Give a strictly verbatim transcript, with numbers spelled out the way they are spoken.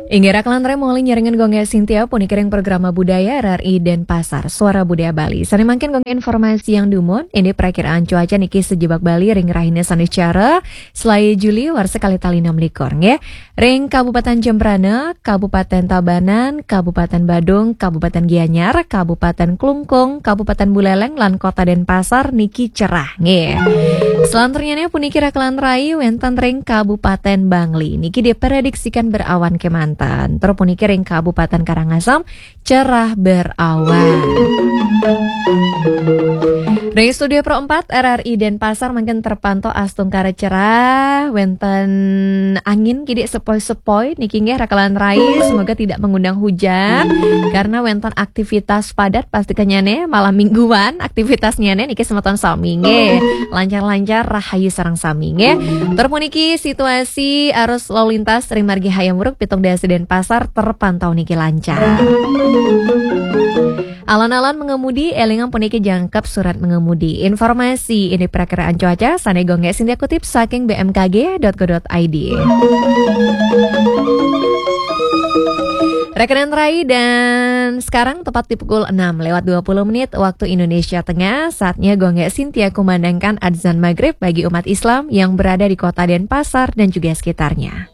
Inggih, rakan lantarai mauliate nyarengan Gung Gé Sintia puniki ring programa budaya R R I Denpasar, Suara Budaya Bali. Sané mangkin Gung Gé informasi yang dumun, indik perakiraan cuaca niki sajebag Bali ring rahina Sanduscara, selaé Juli warsa kalih tali enam likur, nggih. Ring Kabupaten Jembrana, Kabupaten Tabanan, Kabupaten Badung, Kabupaten Gianyar, Kabupaten Klungkung, Kabupaten Buleleng, lan Kota Denpasar niki cerah, nggih. Selanturnyané puniki rakan lantarai wénten ring Kabupaten Bangli. Niki diprediksikan berawan kémanten. Tur puniki ring Kabupaten Karangasem cerah berawan. Ring Studio Pro empat R R I Denpasar mangkin terpantau astungkara cerah, wénten angin kidik sepoi-sepoi niki nggih rakan lantarai, semoga tidak mengundang hujan karena wénten aktivitas padat pastikannyané malam mingguan aktivitasnyané niki semeton sami nggih. Lancar-lancar rahayu sareng sami nggih. Tur puniki situasi arus lalu lintas ring margi Hayam Wuruk pitung dasa Denpasar terpantau niki lancar. Alon-alon mengemudi, élingang puniki jangkep surat mengemudi. Informasi indik perakiraan cuaca sané Gung Gé Sintia kutip saking B M K G dot go dot I D. Rakan lantarai, dan sekarang tepat di pukul enam lewat dua puluh menit waktu Indonesia Tengah, saatnya Gung Gé Sintia kumandangkan adzan maghrib bagi umat Islam yang berada di Kota Denpasar dan juga sekitarnya.